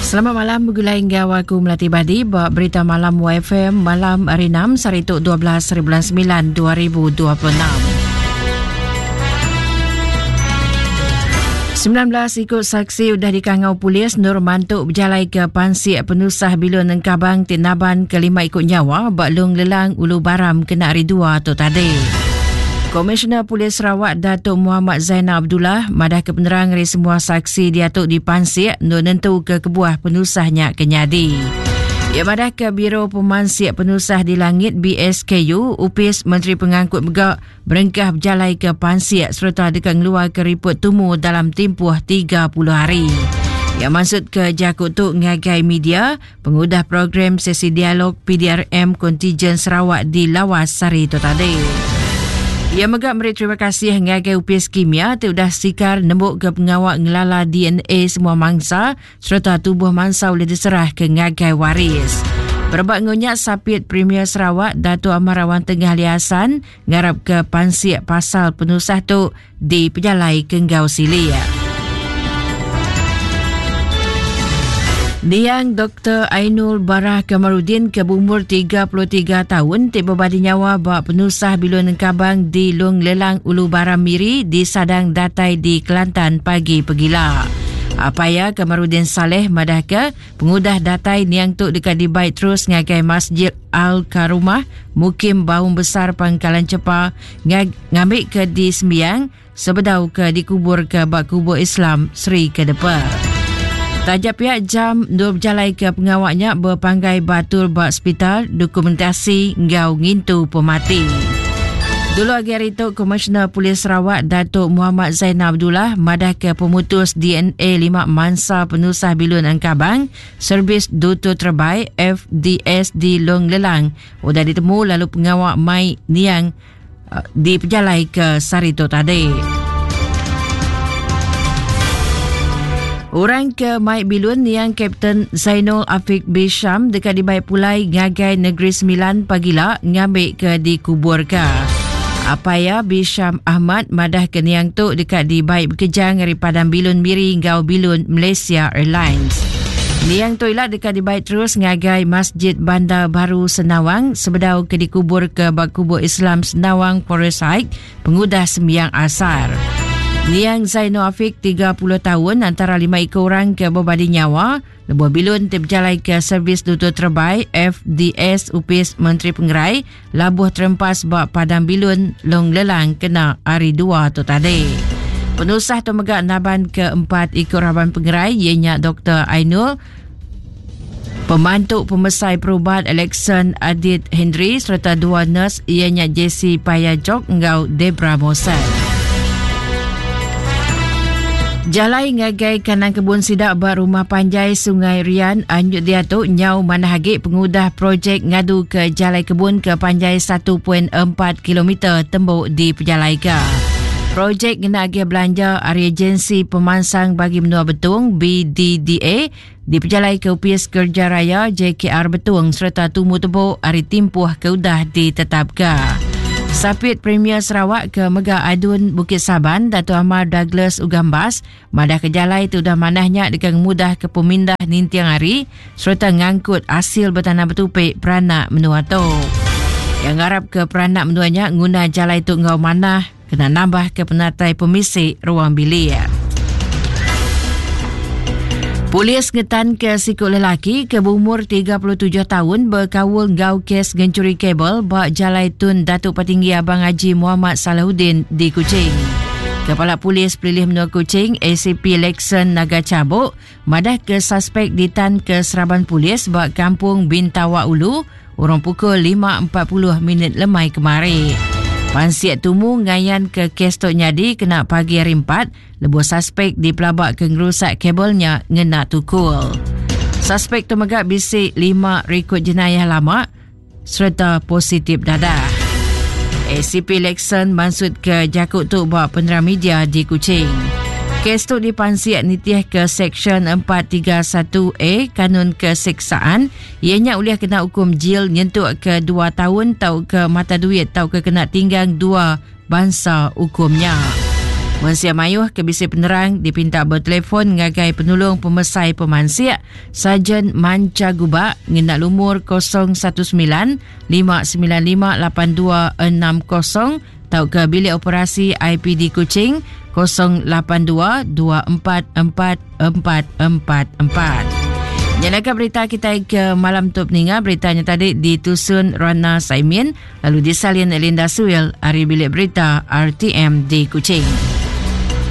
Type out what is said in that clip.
Selamat malam begulai enggau aku Melati Badi ba Berita Malam YFM malam hari 6 sehari tu 12 hari bulan 9 2026. 19 ikut saksi udah dikangau polis nur mantu berjalai ke pansik penusah bilun engkabang ti naban ke lima ikut nyawa ba Long Lelang Ulu Baram kena hari 2 tu tadi. Komisioner Polis Sarawak Datuk Muhammad Zainal Abdullah madah ke penerang ari semua saksi diatu dipansik endur nentu ke kebuah penusah nya ke nyadi. Ia madah ke Biro Pemansik Penusah di Langit BSKU, Upis Menteri Pengangkut mega berengkah bejalai ke pansik sereta deka ngeluarka riput tumu dalam timpuh 30 hari. Ia maksud ke jaku tu ngagai media pengudah program sesi dialog PDRM Kontijen Sarawak di Lawas sehari itu tadi. Ia mega meri terima kasih ngagai Upis Kimia ti udah sikar nembuk ke pengawa ngelala DNA semua mangsa sereta tubuh mangsa ulih diserah ke ngagai waris. Berebak ngunyak sapit Premier Sarawak Datuk Amar Awang Tengah Ali Hassan ngarap ke pansik pasal penusah tu di pejalai ke enggau silik. Niang Dr. Ainul Barah Kamarudin ke berumur 33 tahun ti berbadi nyawa ba penusah bilun engkabang di Long Lelang Ulu Baram Miri di Sadang datai di Kelantan pagi pegila. Apaya Kamarudin Saleh madah ke pengudah datai niang tu deka dibai terus ngagai Masjid Al-Karumah Mukim Baung Besar Pangkalan Cepa ngambi ke disembiang sebedau ke dikubur ke ba kubur Islam Seri Kedepa. Taja pihak jam dua berjalai ke pengawa nya berpanggai batul ba sepital dokumentasi enggau ngintu pemati. Dulu agi hari itu, Komisioner Polis Sarawak Datuk Muhammad Zainal Abdullah madah ke pemutus DNA lima mansa penusah bilun Engkabang Servis Duta Terbaik FDS di Long Lelang udah ditemu lalu pengawa mai niang uh, dipejalai ke sehari tu tadi. Orang ke mai bilun niang Kapten Zainul Afiq Bisham dekat dibai pulai ngagai Negeri Sembilan pagila ngambil ke dikubur ke. Apa ya Bisham Ahmad madah ke niang tu dekat dibai bekejang dari Padang Bilun Miri ngau Bilun Malaysia Airlines. Niang tu ila dekat dibai terus ngagai Masjid Bandar Baru Senawang sebedau ke dikubur ke ba kubur Islam Senawang Forest Heights pengudah sembiang asar. Niang Zainul Afiq 30 tahun antara lima ekor orang ke berbadi nyawa lebuh bilun ti berjalai ke servis duta terbaik FDS Upis Menteri Pengerai labuh terempas ba Padang Bilun Long Lelang kena hari dua tu tadi. Penusah tu mega naban ke empat ikut raban pengerai ianya Dr. Ainul, Pemantu Pemesai Perubat Alexon Adit Henry serta dua nurse ianya Jesse Payajok enggau Debra Mosen. Jalai ngagai kanan kebun sida ba rumah panjai Sungai Rian anyut diatu nyau manah agi pengudah projek ngadu ke jalai kebun ke panjai 1.4 km tembu dipejalaika. Projek ngena agih belanja ari Agensi Pemansang Bagi Menua Betong BDDA dipejalaika Opis Kerja Raya JKR Betong sereta tumu tebuk ari timpuh ke udah ditetapka. Sapit Premier Sarawak ke mega Adun Bukit Saban Dato Amar Douglas Ugambas madah ke jalai ti udah manah nya deka ngemudah ke pemindah ninting hari sereta ngangkut asil betanam betupi peranak menua tu. Yang ngarap ke peranak menua nya nguna jalai tu enggau manah kena nambah ke penatai pemisi ruang bilik. Polis ngetan ke siku lelaki ke berumur 37 tahun berkaul enggau kes ngencuri kabel ba Jalai Tun Datuk Patinggi Abang Haji Muhammad Salahuddin di Kuching. Kepala Polis Pelilih Menua Kuching ACP Lexon Naga Cabuk madah ke suspek ditan ke seraban polis ba Kampung Bintawa Ulu Urung pukul 5.40 minit lemai kemari. Pansik tumu ngayan ke kes tu nyadi kena pagi hari 4 lebuh suspek dipelaba ke ngerusak kabelnya ngena tukul. Suspek tu mega bisi 5 rekod jenayah lama sereta positif dadah. ACP Lexon mansut ke jaku tu ba penerang media di Kuching. Kes tu dipansik nitih ke Seksyen 431A Kanun Keseksaan Iya nya ulih kena ukum jil nyentuk ke dua taun tauka mata duit tauka kena tinggang dua bansa ukum nya. Mensia mayuh ke bisi penerang dipinta betelefon ngagai Penulung Pemesai Pemansik, Sarjan Mancha Gubak ngena lumur 019 595 8260 tauka Bilik Operasi IPD Kuching 082 244 444. Nyalaka berita kita ke malam tu peninga beritanya tadi ditusun Rana Saimin lalu disalin Linda Suil ari Bilik Berita RTM di Kuching.